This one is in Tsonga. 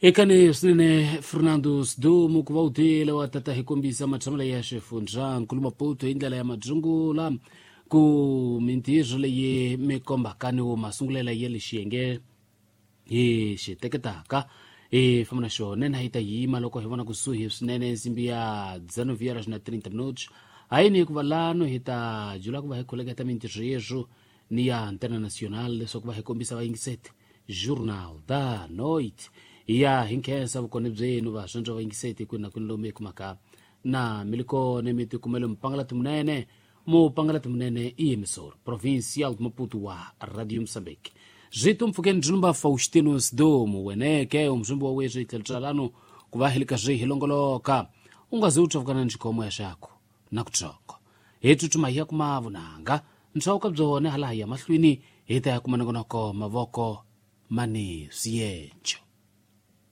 Ekani swinene Fernando Sdumo ku va u tile wa tata hi kombisa matshamelo ya xifundza nkulu Maputo hi ndlela ya madzungula ku mintirho leyi mi kombaka ni wo masungulela ya le xiyenge hi xi teketaka hi famba na xona na hi ta yima loko hi vona kusuhi swinene nsimbi ya 19 horas na 30 minutos hayini hikuva lano hi ta jula ku va hi khuleketa mintirho yeswo ni ya Antena Nacional leswaku va hi kombisa vayingiseti Journal da Noite. Ya hi nkhensa vukona byenu vaswondzo vayingiseti kwini na kwini lomu hi kumaka na mi li kona mi tikumele mupangalati munene mupangalati munene i emissor provincial de Maputo wa Radio Moçambique. Zwitu mpfukeni byi Faustino Sidomu weneke umzumbi wa weswi hi tlhelo tswalano ku va hi le ka swi hi longoloka u nga zi u tsavukana ni xikhomo ya xako na kutsongo hi tsutsuma hi ya kuma vunanga ntswauka byone hala hi ya mahlweni hi ta ya kuma nongonoko mavoko mani swiyenco.